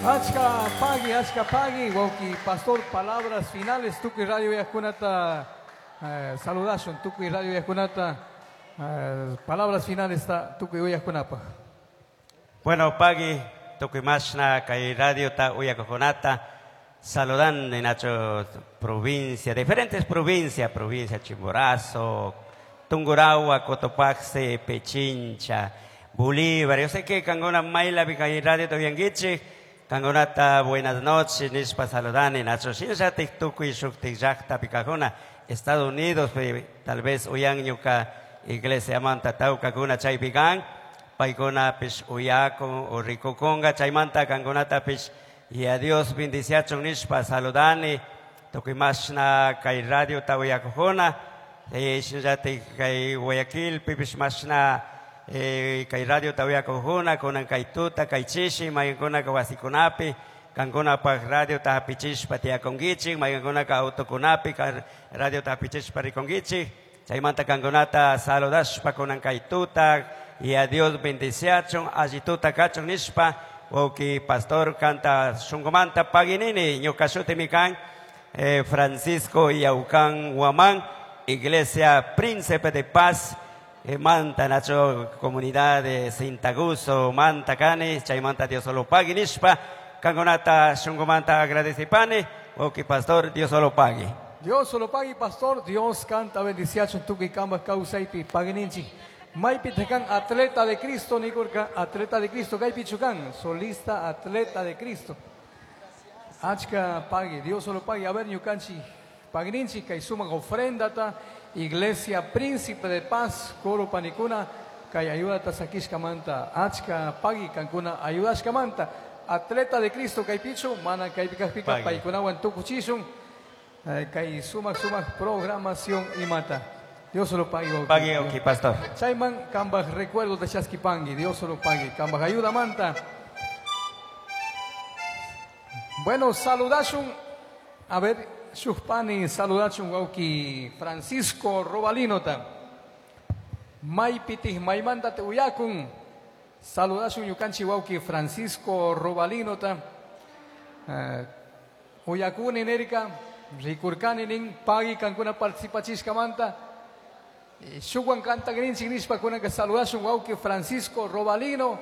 Achka pagui, wawki pastor, palabras finales, tukuy radio uyajkunata saludashun, tukuy radio uyajkunata palabras finales ta tukuy uyajkunapaj. Bueno, pagui, tukuy mashna kay radiota uyajkunata saludan en nacho provincia, diferentes provincias, provincia Chimborazo, Tungurahua, Cotopaxi, Pichincha, Bolívar. Yo sé que kankuna maylapi kay radio uyanguichik, kankunata buenas noches, nishpa saludani, nacho shinallatik tukuy shuktik llaktapi kajuna, Estados Unidos, tal vez uyan ñuka iglesia manta tawkakuna chaypi kan, paykunapish uyakun o rikukunga, chaymanta kankunatapish y a Dios bendiciachun nishpa saludani, tukuy mashna kay radio ta uyakujuna, shinallatik kay Guayaquilpipish mashna kay radio ta uyakujuna, kunan kay tuta, kay chishi, maykankunaka wasikunapi, kankunapaj radio ta hapichishpa tiyakunkichik, maykankunaka autokunapi radio ta hapichishpa rikunkichik, chaymanta kankunata saludashpa kunan kay tuta, y a Dios bendiciachun, alli tuta kachun nishpa, wawki pastor kanta shunkumanta paginini, ñuka shutimi kan, Francisco Yaucán Guamán, Iglesia Príncipe de Paz, manta nacho comunidad de Sintaguso, manta kani, chaymanta Dios solo pague nishpa, kankunata shunkumanta agradecipani, wawki pastor, Dios solo pague. Dios solo pague, pastor, Dios kanta bendiciachun tukuy kambaj kawsaypi paguininchik. Maypi kan atleta de Cristo, nikurka, atleta de Cristo, kaypichu kan, solista atleta de Cristo. Achka pague, Dios solo pague. A ver, ñukanchik, paguininchik, kay sumak ofrendata, Iglesia Príncipe de Paz, coro panikuna, kay ayudata sakishkamanta, achka pagui kankuna ayudashkamanta, atleta de Cristo kaypichu, mana kaypi kajpika Pagui. paykunawan tukuchishun, kay sumak sumak programación imata. Dios solo pague, wawki. Pague, ok, pastor. Chayman kambaj recuerdo de Chasquipangui, Dios solo pague. Kambaj ayuda manta. Bueno, saludashun, a ver, shukpani, saludashun, wawki Francisco Robalinota. Maypitij, maymanta te uyakun. Saludashun ñukanchik wawki Francisco Robalinota. Uyakuni nerika, rikurkani nin, pagui kankuna participachishkamanta. Shukwan kantagrinchik nishpa kunanka saludashun wawki Francisco Robalino.